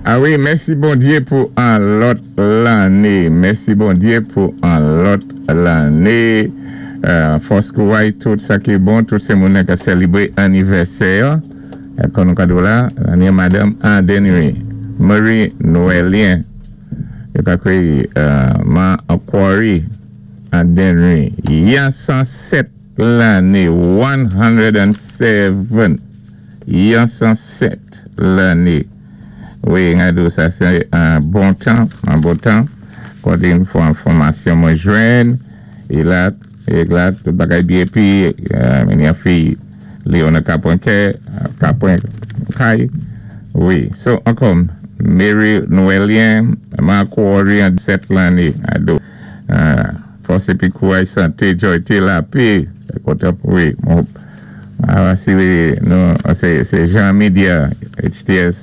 A wi, mèsi Bondyé pou an lòt lanné. Mèsi Bondyé pou an lòt lanné. Fòs, kouray, tout sa ki bon, tout sé moun ka sélébwé annivèsè. Kon nou kado la, lanné Madanm Andenry, Marie Noëlien. Yo ka kwé Ma Aquari Andenry. Yan 107 lanné, 107. Yan 107 lanné. Wi, ngado, sa sé an bon tan, an bon tan. Koté yon fwa enfòmasyon mwen jwenn, é la, tout bagay byen épi, men yon fi Léona Kapwen Kapwen Kay. Wi, so ankò, Mary Noëlien, Marco Orient, 7 lanné, ado. Fòs épi kouray, santé, jòyté, lapè, koté, wi, mon, ah, si, non, sé Jean Media, HTS.